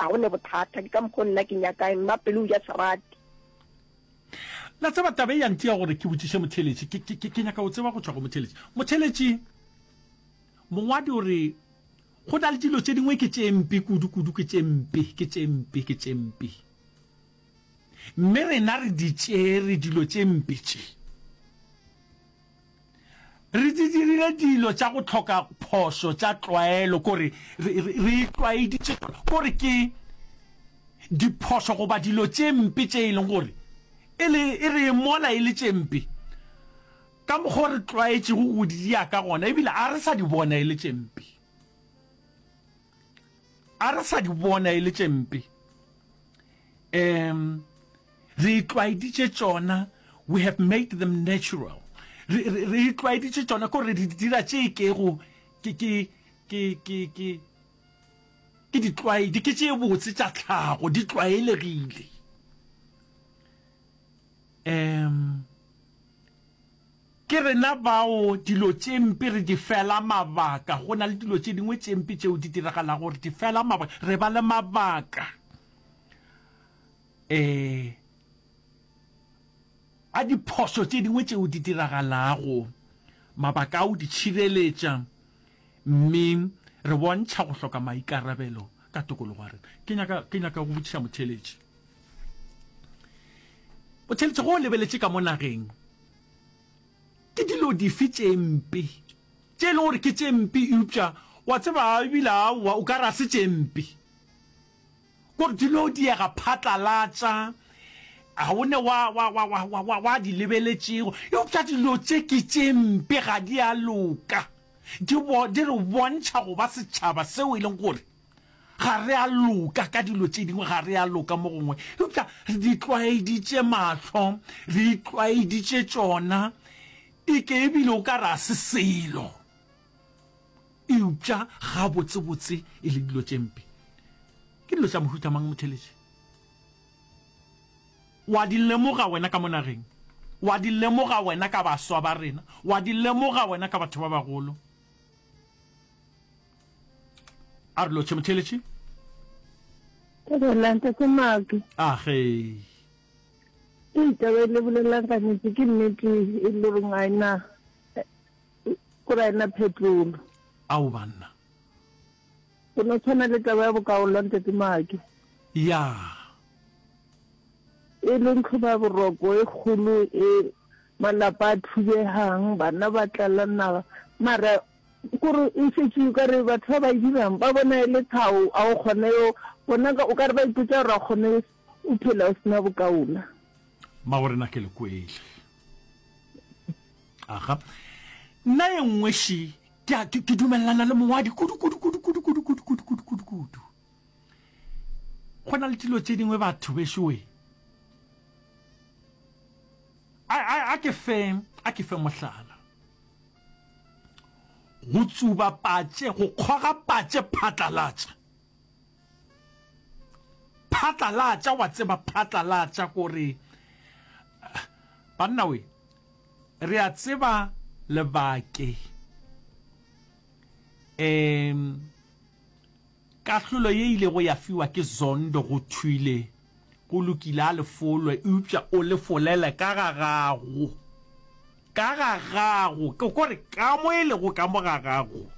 Ga go ne bothata, ke ka mokgo nna ke nyakang, mma pelo o ja serati. La tseba, taba e ya ntia gore ke botšiše motheeletši. Ke, ke, ke, ke nyaka go tseba go tšwa go motheeletši. Motheeletši, mongwadi o re, Go na le dilo tše dingwe ke tše mpe kudu, kudu, ke tše mpe, ke tše mpe, ke tše mpe. Mme rena re di tšere dilo tše mpe tše. Re di dirile dilo tša go hloka phošo tša tlwaelo, kore re, re, re itlwaeditše tšona, kore ke diphošo goba dilo tše mpe tše e leng gore e le, e re mola e le tše mpe ka mokgwa o re tlwaetšego go di dia ka gona, ebile a re sa di bona e le tše mpe. A re sa di bona e le tše mpe. Um re itlwaeditše tšona, we have made them natural. Re, re, re itlwaeditše tšona, ko re di dira tše e kego ke, ke, ke, ke, ke, ke ditlwaedi, ke tše botse tša tlhago, di tlwaelegile. Um Ke rena bao dilo tše mpe re di fela mabaka. Go na le dilo tše dingwe tše mpe tšeo di diragalago, re di fela mabaka, re ba le mabaka um a diphošo tše dingwe tšeo di diragalago, mabaka a o di tšhireletša, mme re bontšha go hloka maikarabelo ka tokologo ya rena. Ke nyaka, ke nyaka go botšiša motheeletši. Motheeletši, ge o lebeletše ka mo nageng, Ke dilo dife tše mpe tše e lego gore ke tše mpe eupša wa tseba ebile aowa o ka re a se tše mpe? Gore di no diega phatlalatša, ga o ne wa, wa, wa, wa, wa, wa, wa di lebeletšego. Eupša dilo tše ke tše mpe, ga di a loka. Di, bo, di re bontšha go ba setšhaba seo e leng gore Ga re a loka ka dilo tše dingwe, ga re a loka mo gongwe, eupša re di tlwaeditše mahlo, re itlwaeditše tšona, e ke ebile o ka re a se selo, eupša gabotsebotse e le dilo tše mpe. Ke dilo tša mohuta mang, motheeletši? Wa di lemoga wena ka mo nageng, wa di lemoga wena ka baswa ba rena, wa di lemoga wena ka batho ba bagolo. A re lotšhe motheeletši. Thobela ntate Maake. A ge. Ee, taba e le bolelang ka nnete ke nnete e le goreng ga ena kore ga ena phetolo. Ao banna. Go no tshwana le taba ya bokaola ntate Maake. Ya. E leng tlhoba boroko e kgolo e malapa a thubegang, bana ba tlala naga mara Kore e šetše o ka re batho ba ba e dirang ba bona e le tlhago, a o kgone yo bona o ka re ba ipotša gore a kgone o phela o sena bokaola. Mmagorena ke le kwele. Aga. Nna e nngwe še, ke a, ke, ke dumelelana le mongwadi kudu, kudu, kudu, kudu, kudu, kudu, kudu, kudu, kudu, kudu. Go na le dilo tše dingwe batho bešo we. A, a, a ke fe, a ke fe mohlala. Go tsuba patše, go kgoga patše phatlalatša. Phatlalatša, wa tseba phatlalatša kore banna we, re a tseba lebake. Um Kahlolo ye ilego ya fiwa ke Zondo go thwile, Go lokile a le folwe, eupša o le folele ka ga gago. Ka ga gago, ke ko re ka mo e lego ka mo ga gago,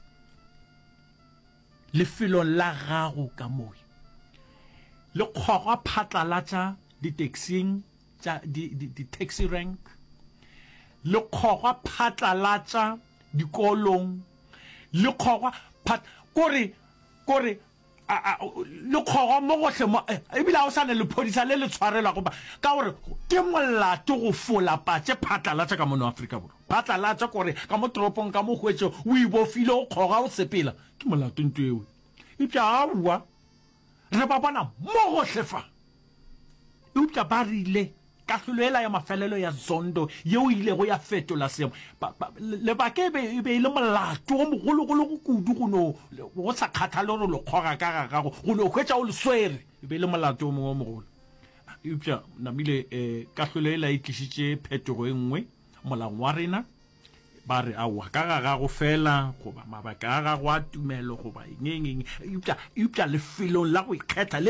lefelong la gago ka mo. Le kgogwa phatlalatša ditaxing tša di, di, di taxi rank, le kgogwa phatlalatša dikolong, le kgogwa phat, kore, kore a, a, le kgogwa mo gohle mo, eh, ebile ga o sa ne lephodisa le le tshwarelwago ba, ka gore ke molato go fola patše phatlalatša ka mono Afrika Borwa. Phatlalatša kore ka mo toropong ka mo hwetše o ibofile o kgoga o sepela, ke molato nto eo. Eupša aowa, re ba bona mo gohle fa. Eupša ba rile kahlolo yela ya mafelelo ya Zondo yeo e ilego ya fetola seemo, ba, ba, lebaka e be, e be e le molato o mogologolo go kudu go no, go sa kgathale gore o le kgoga ka ga gago, go no hwetša o le swere, e be e le molato o mongwe o mogolo. Eupša namile eh, kahlolo yela e tlišitše phetogo e nngwe molaong wa rena, ba re aowa ka ga gago fela goba mabaka a gago a tumelo goba eng eng eng, eupša, eupša lefelong la go ikgetha le.